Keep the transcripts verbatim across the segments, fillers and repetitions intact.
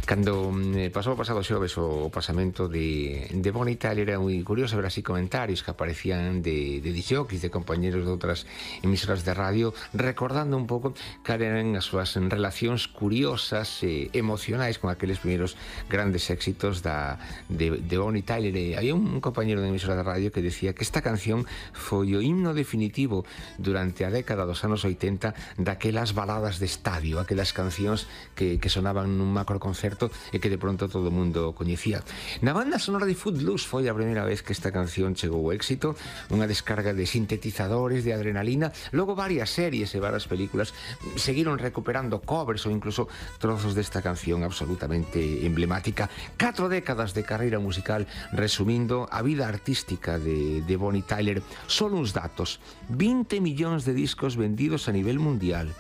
Cando eh, pasou o pasado xoves o pasamento de, de Bonnie Tyler, era moi curioso ver así comentarios que aparecían de, de disjockeys, de compañeros de outras emisoras de radio, recordando un pouco cal eran as súas relacións curiosas e emocionais con aqueles primeiros grandes éxitos da, de, de Bonnie Tyler. E había un compañero de emisora de radio que decía que esta canción foi o himno definitivo durante a década dos anos oitenta daquelas baladas de estadio, aquelas cancións que, que sonaban nun macro concerto e que de pronto todo o mundo coñecía. Na banda sonora de Footloose foi a primeira vez que esta canción chegou ao éxito, unha descarga de sintetizadores, de adrenalina. Logo varias series e varias películas seguiron recuperando covers ou incluso trozos desta canción absolutamente emblemática. Catro décadas de carreira musical resumindo a vida artística de, de Bonnie Tyler. Solo uns datos: vinte millóns de discos vendidos a nivel mundial,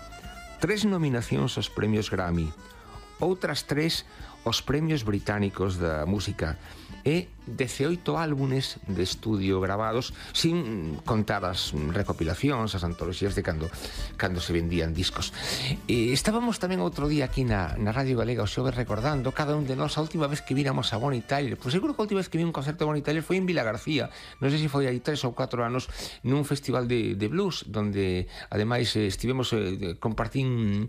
tres nominacións aos premios Grammy, outras tres os premios británicos da música e dezaoito álbumes de estudio gravados, sin contar as recopilacións, as antoloxías de cando, cando se vendían discos. E estábamos tamén outro día aquí na, na Radio Galega o xoves recordando cada un de nós a última vez que víramos a Bonnie Tyler. Pois seguro que a última vez que vi un concerto de Bonnie Tyler foi en Vila García, non sei se foi aí tres ou catro anos, nun festival de, de blues, donde ademais eh, estivemos eh, compartín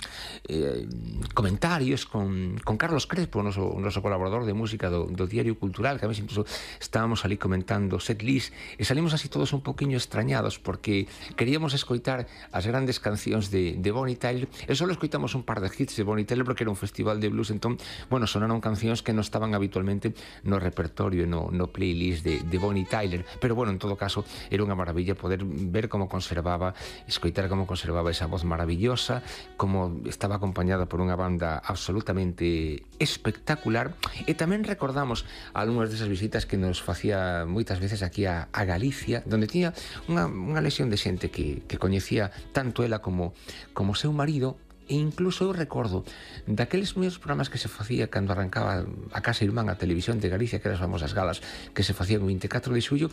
eh, comentarios con, con Carlos Crespo, o noso, o noso colaborador de música do, do Diario Cultural, que a mí incluso estábamos ali comentando set list e salimos así todos un poquinho extrañados porque queríamos escoitar as grandes cancións de, de Bonnie Tyler e só escoitamos un par de hits de Bonnie Tyler porque era un festival de blues. Entón, bueno, sonaron cancións que non estaban habitualmente no repertorio, no, no playlist de, de Bonnie Tyler, pero bueno, en todo caso era unha maravilla poder ver como conservaba, escoitar como conservaba esa voz maravillosa, como estaba acompañada por unha banda absolutamente espectacular. E tamén recordamos algunhas desas visitas que nos facía moitas veces aquí a, a Galicia, donde tiña unha, unha lesión de xente que, que coñecía tanto ela como, como seu marido. E incluso eu recordo daqueles meus programas que se facía cando arrancaba a Casa Irmán, a Televisión de Galicia, que eran as famosas galas que se facían o veinticuatro de xullo.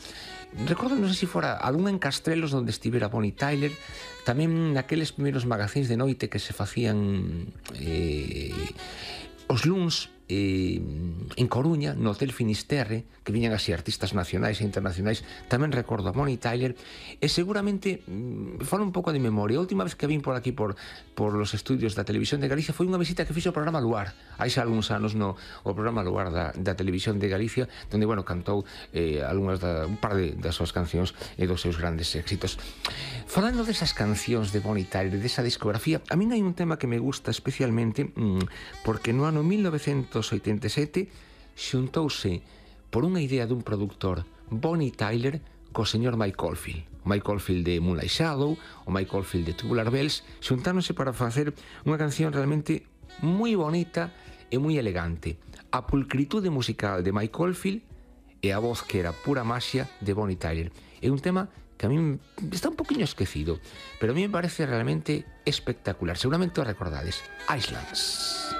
Recordo, non sei se fora algún en Castrelos onde estivera Bonnie Tyler, tamén naqueles primeiros magazíns de noite que se facían eh, os luns eh, en Coruña, no Hotel Finisterre, que viñan así artistas nacionais e internacionais. Tamén recordo a Bonnie Tyler e seguramente mm, falo un pouco de memoria. A última vez que vin por aquí por, por los estudios da Televisión de Galicia foi unha visita que fixo o programa Luar hai xa algúns anos, no o programa Luar da, da Televisión de Galicia, donde, bueno, cantou eh, algunhas da, un par de, das súas cancións e dos seus grandes éxitos. Falando desas cancións de Bonnie Tyler, desa discografía, a min hai un tema que me gusta especialmente mm, porque no ano mil novecentos oitenta e sete xuntouse por unha idea dun produtor Bonnie Tyler co señor Mike Oldfield. O Mike Oldfield de Moonlight Shadow, o Mike Oldfield de Tubular Bells, xuntáronse para facer unha canción realmente moi bonita e moi elegante. A pulcritude musical de Mike Oldfield e a voz que era pura maxia de Bonnie Tyler. É un tema que a mí está un poquinho esquecido, pero a mí me parece realmente espectacular. Seguramente o recordades. Islands.